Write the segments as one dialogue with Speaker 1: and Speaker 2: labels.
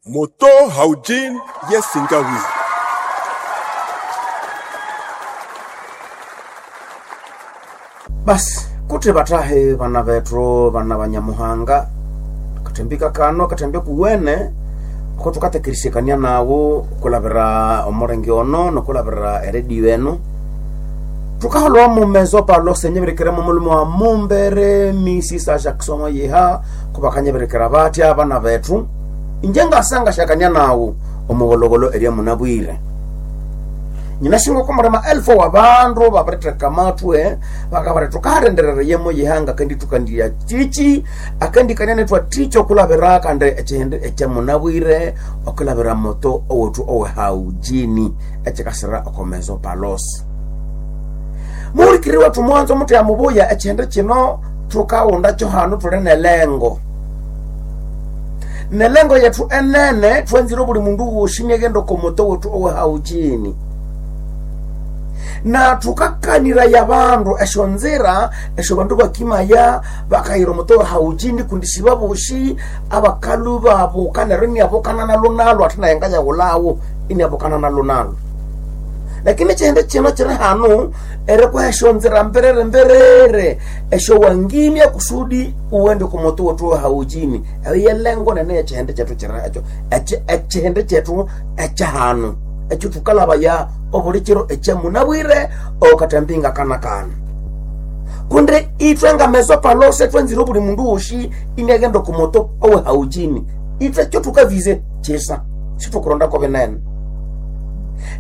Speaker 1: Moto Haujin Yesingawi.
Speaker 2: Basi kuti batahe bana bethu bana banyamuhanga katembika kano katembe kuwene ko tukatekerisekania nawo kulabira omurenge ono nokulabira eredio eno tukaholwa mumezo palo senyeberekera mumulumo wa mumbere misisa Jackson yeha kubakanyeberekera batya abana bethu inje ngasanga shakania nawo omugologolo eria munabwire nyinashinga komurema elfu wa bandu babiriteka matwe bakabari tukarenderera yemo yihanga kandi tukandiya chichi akandi kanyane twa ticho kulabira kandi echihende echamunabwire okulabira moto owethu owehaujini echikasira okomezo palos muhulikiri wethu mwanzo mutu ya mubuya echihende chino tukawunda cho hanu tuli nelengo nelengo yethu enene twenzire buli mundu wosi niaghenda okomoto wethu owehaujini na tukakaniraya bandu esyo nzira esyo bandu bakimaya bakayira omuto haujini kundi sibabosi abakalu babuka neryo iniabukana nalo nalo ate naye ngayawulawo iniabukana nalo nalo lakini chihende chino chiri hanu erikuha esyo nzira mberere mberere esyo wangimya kusudi uwende kumutu wetu haujini eyo yelengo nene yechihende chethu chiri ekyo echihende chethu ekyahanu ekyo thukalabaya obuli kiro ekyamunabwire okatambinga kana kana kundi ithwe ngameso palose twenzire obuli mundu wosi iniaghenda okumoto owehaujini ithwe kyo thukavize kisa situkurondako binene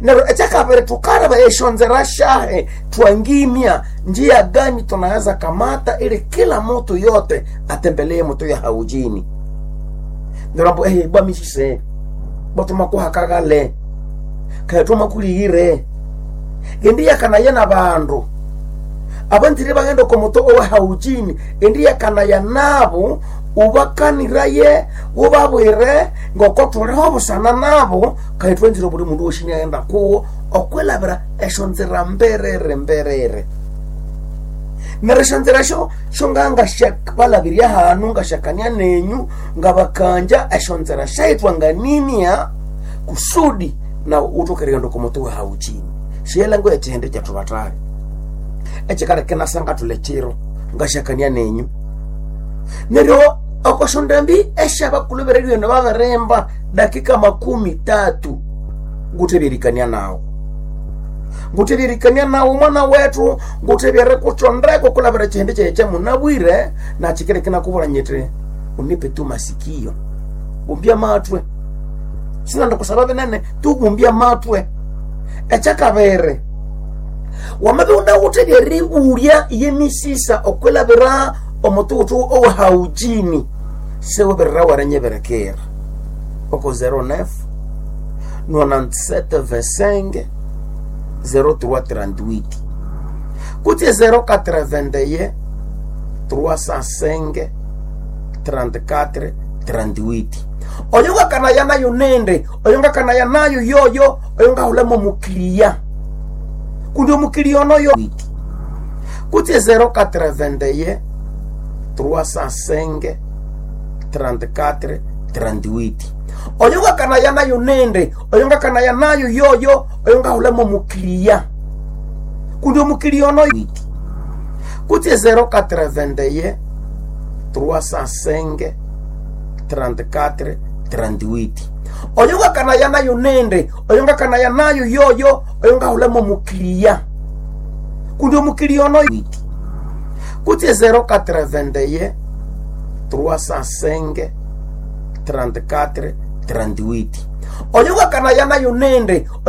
Speaker 2: neryo ekyakabiri thukalaba esyonzera syahe twangimya njia gani tunaweza kamata ili kila mutu yote atembelee moto ya haujini neryo ambu ehe bwamisise bwathumakuhakagale kayatuma kuliyire endi yakanaya na bandu abanzire baghenda okomoto owehaujini endi yakanaya nabo ubakaniraye ubabwire ngoko thuliho busana nabo kayithwenzire buli mundu wosi niaghenda kuwo okwilabira esyo nzira mberere mberere neryo esyo nzira syo syongangasyabalabirya hanu ngasyakania nenyu ngabakanja esyo nzira syayithwa nganimya kusudi na utokererendo komoto wa hauchini shiyelengo echihende kyathu batali echikaleka nasanga thule chiro ngashakania nenyu neryo okoshondambi esyabakulubireryo eno babirimba dakika 30 nguthebyerikania nawo nguthebyerikania nawo mwana wethu nguthebyere kuthondeko kulabira chihende kyaye kyamunabwire nakyikereke nakubwira nyiti unipe tu masikio bumbya matwe sinanda kusaba binene tubumbya matwe ekyakabiri wamabe unawuthe lyeribulya yemisisa okwilabira omututu owehaujini sewebirira warenyeberekera oko 09 97 25 0338 kutse 081 305 34 38 oyo ngakanaya nayo nende oyo ngakanaya nayo yoyo oyo ngahulamo mukiliya kundi omukiliya onoyo kutse 081 305 34 38 oyo ngakanaya nayo nende oyo ngakanaya nayo yoyo oyo ngahulamo mukiliya kundi omukiliya onoyo kutse 081 305 34 38 oyo ngakanaya nayo nende oyo ngakanaya nayo yoyo oyo ngahulamo mukiliya kundi omukiliya onoyo kutse 081 305 34 38 oyo ngakanaya nayo nende oyo